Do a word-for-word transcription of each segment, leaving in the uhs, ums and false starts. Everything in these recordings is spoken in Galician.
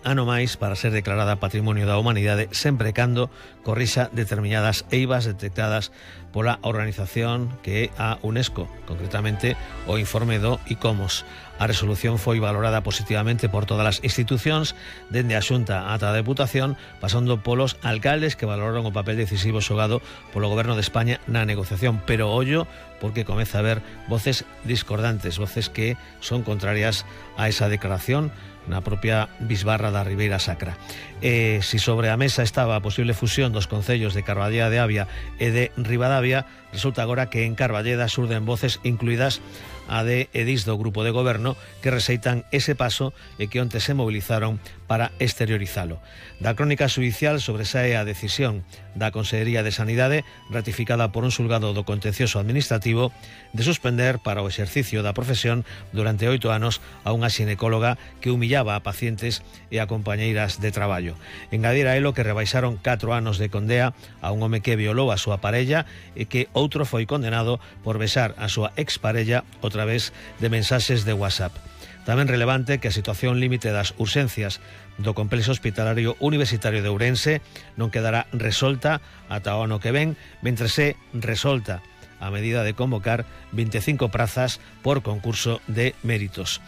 ano máis para ser declarada Patrimonio da Humanidade, sempre cando corrixa determinadas eivas detectadas pola organización que é a UNESCO, concretamente o informe do ICOMOS. A resolución foi valorada positivamente por todas as institucións, dende a Xunta ata a Deputación, pasando polos alcaldes que valoraron o papel decisivo xogado polo Goberno de España na negociación. Pero ollo, porque comeza a haber voces discordantes, voces que son contrarias a esa declaración na propia bisbarra da Ribeira Sacra. E se sobre a mesa estaba a posible fusión dos concellos de Carballeda de Avia e de Ribadavia, resulta agora que en Carballeda surden voces, incluídas a de Edís do Grupo de Goberno, que rexeitan ese paso e que onte se movilizaron para exteriorizalo. Da crónica xudicial sobresae a decisión da Consellería de Sanidade, ratificada por un xulgado do contencioso administrativo, de suspender para o exercicio da profesión durante oito anos a unha xinecóloga que humillaba a pacientes e a compañeiras de traballo. Engadir a elo que rebaixaron catro anos de condea a un home que violou a súa parella e que outro foi condenado por besar a súa exparella o través de mensaxes de WhatsApp. Tamén relevante que a situación límite das urxencias do complexo hospitalario universitario de Ourense non quedará resolta ata o ano que ven, mentre se resolta a medida de convocar veinticinco prazas por concurso de méritos.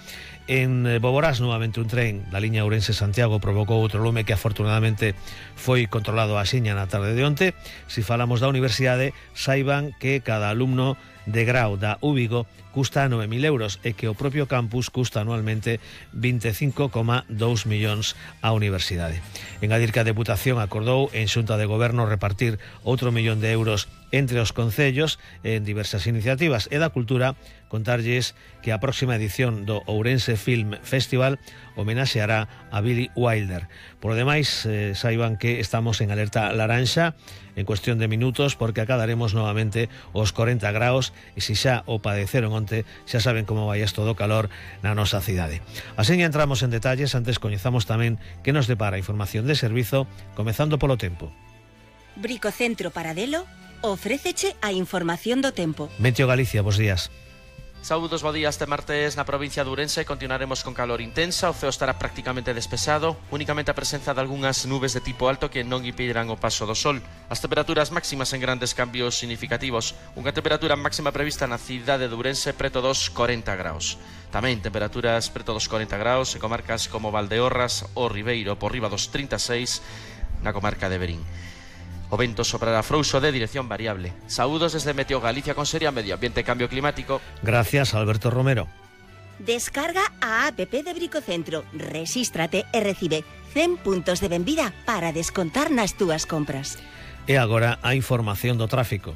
En Boborás, novamente un tren da liña Ourense-Santiago provocou outro lume que afortunadamente foi controlado axiña na tarde de onte. Se falamos da universidade, saiban que cada alumno de grau da U Vigo custa nove mil euros e que o propio campus custa anualmente veinticinco coma dous millóns á universidade. Engadir que a Deputación acordou en Xunta de Goberno repartir outro millón de euros entre os concellos en diversas iniciativas, e da Cultura contarlles que a próxima edición do Ourense Film Festival homenaxeará a Billy Wilder. Por lo demais, eh, saiban que estamos en alerta laranxa en cuestión de minutos, porque acadaremos novamente os corenta graus, e se xa o padeceron onte, xa saben como vai isto do calor na nosa cidade. Así entramos en detalles, antes coñezamos tamén que nos depara a información de servizo, comezando polo tempo. Bricocentro Paradelo ofréceche a información do tempo. Meteo Galicia, bos días. Saúdos, bo día. Este martes na provincia de Ourense continuaremos con calor intensa, o ceo estará prácticamente despexado, únicamente a presenza de algunhas nubes de tipo alto que non impedirán o paso do sol. As temperaturas máximas en grandes cambios significativos, unha temperatura máxima prevista na cidade de Ourense preto dos corenta graus. Tamén temperaturas preto dos corenta graus en comarcas como Valdeorras ou Ribeiro, por riba dos trinta e seis na comarca de Verín. O vento soprará frouxo de dirección variable. Saúdos desde Meteo Galicia con Seria Medio Ambiente e Cambio Climático. Gracias, Alberto Romero. Descarga a app de Bricocentro, rexístrate e recibe cen puntos de benvida para descontar nas túas compras. E agora a información do tráfico.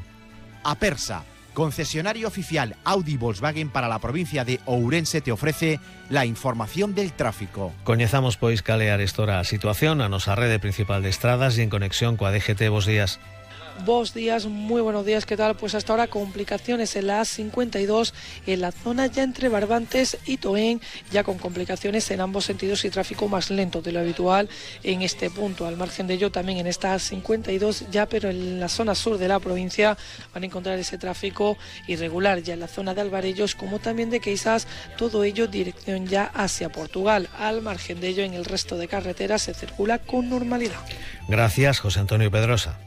Apersa, concesionario oficial Audi Volkswagen para la provincia de Ourense, te ofrece la información del tráfico. Coñezamos pois cal é arestora a situación a nosa rede principal de estradas e en conexión coa D G T. Bos días. Buenos días, muy buenos días, ¿qué tal? Pues hasta ahora complicaciones en la A cincuenta y dos, en la zona ya entre Barbantes y Toén, ya con complicaciones en ambos sentidos y tráfico más lento de lo habitual en este punto. Al margen de ello, también en esta A cincuenta y dos, ya pero en la zona sur de la provincia van a encontrar ese tráfico irregular, ya en la zona de Alvarellos, como también de Queizás, todo ello dirección ya hacia Portugal. Al margen de ello, en el resto de carreteras se circula con normalidad. Gracias, José Antonio Pedrosa.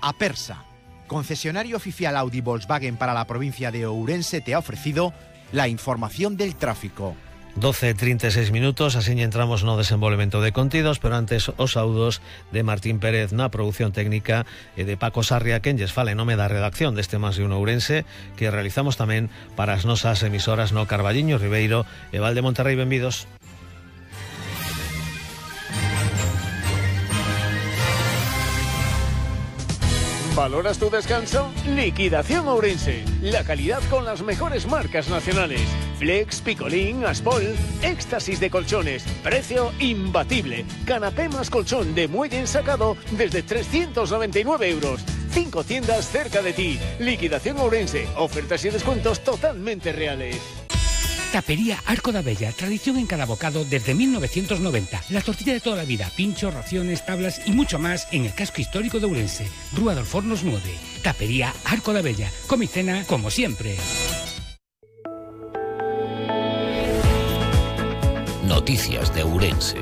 Apersa, concesionario oficial Audi Volkswagen para la provincia de Ourense, te ha ofrecido la información del tráfico. doce e trinta e seis minutos, así entramos no desenvolvemento de contidos, pero antes os saúdos de Martín Pérez na produción técnica e de Paco Sarria, quen lles fala en nome da redacción deste Más de un Ourense, que realizamos tamén para as nosas emisoras no Carballiño, Ribeiro e Val de Monterrey. Benvidos. ¿Valoras tu descanso? Liquidación Ourense. La calidad con las mejores marcas nacionales. Flex, Picolín, Aspol. Éxtasis de colchones. Precio imbatible. Canapé más colchón de muelle ensacado desde trescientos noventa y nueve euros. Cinco tiendas cerca de ti. Liquidación Ourense. Ofertas y descuentos totalmente reales. Tapería Arco da Bella, tradición en cada bocado desde mil novecientos noventa. La tortilla de toda la vida, pinchos, raciones, tablas y mucho más en el casco histórico de Ourense. Rúa dos Fornos nueve. Tapería Arco da Bella. Come y cena como siempre. Noticias de Ourense.